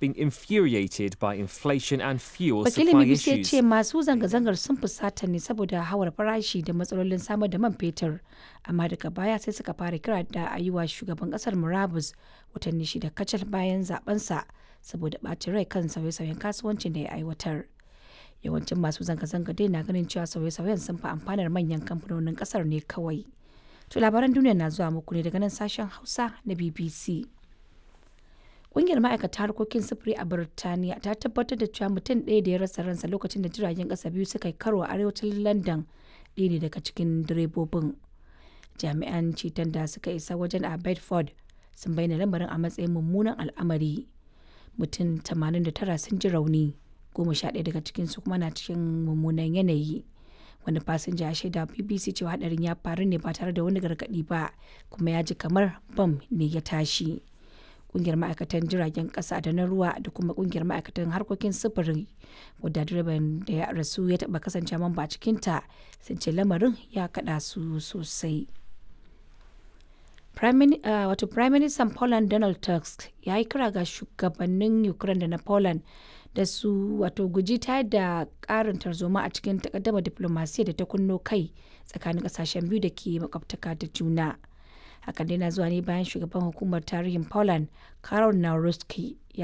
had been infuriated by inflation and fuel Wakilin supply BBC ya issues. ce masu zanga-zangar sun fusata ne saboda hawar farashi da matsalolin samar da man fetur, amma daga baya sai suka fara kira da a yi wa shugaban kasar murabus watanni 6 kacal bayan zabensa saboda ɓacin rai kan sauye-sauyen kasuwancin da ya aiwatar. Yawancin masu zanga-zanga dai na ganin cewa sauye-sauyen sun fi amfanar manyan kamfanonin kasar ne kawai. To labaran duniya na zuwa muku ne daga nan sashen Hausa na BBC. Ƙungiyar ma'aikata harkokin sufuri a Birtaniya ta tabbatar da cewa mutum ɗaya da ya rasa ransa lokacin da jiragen ƙasa biyu suka yi karo a arewacin London ɗaya ne daga cikin direbobin. Jami'an ceton da suka isa wajen a Bedford sun bayyana lamarin a matsayin mummunan al'amari. Mutum 89 sun ji rauni, 11 daga cikinsu kuma na cikin mummunan yanayi. Wani fasinja ya shaida wa BBC cewa hadarin ya faru ne ba tare da wani gargaɗi ba, kuma ya ji kamar bam ne ya tashi. Kungiyar ma'aikatan jiragen kasa da na ruwa da kuma kungiyar ma'aikatan harkokin sufuri wadda direban da ya rasu ya taba kasance mamba a cikinta sun ce lamarin ya kada su sosai. Wato Prime Minister Poland Donald Tusk ya yi kira ga shugabannin Ukraine da na Poland da su wato guji tayar da karin tarzoma a cikin takaddama diplomasiya da ta kunno kai tsakanin kasashen biyu da ke makwabtaka da juna. Hakan dai na zuwa ne bayan shugaban hukumar tarihin Poland, Karol Nawrocki, ya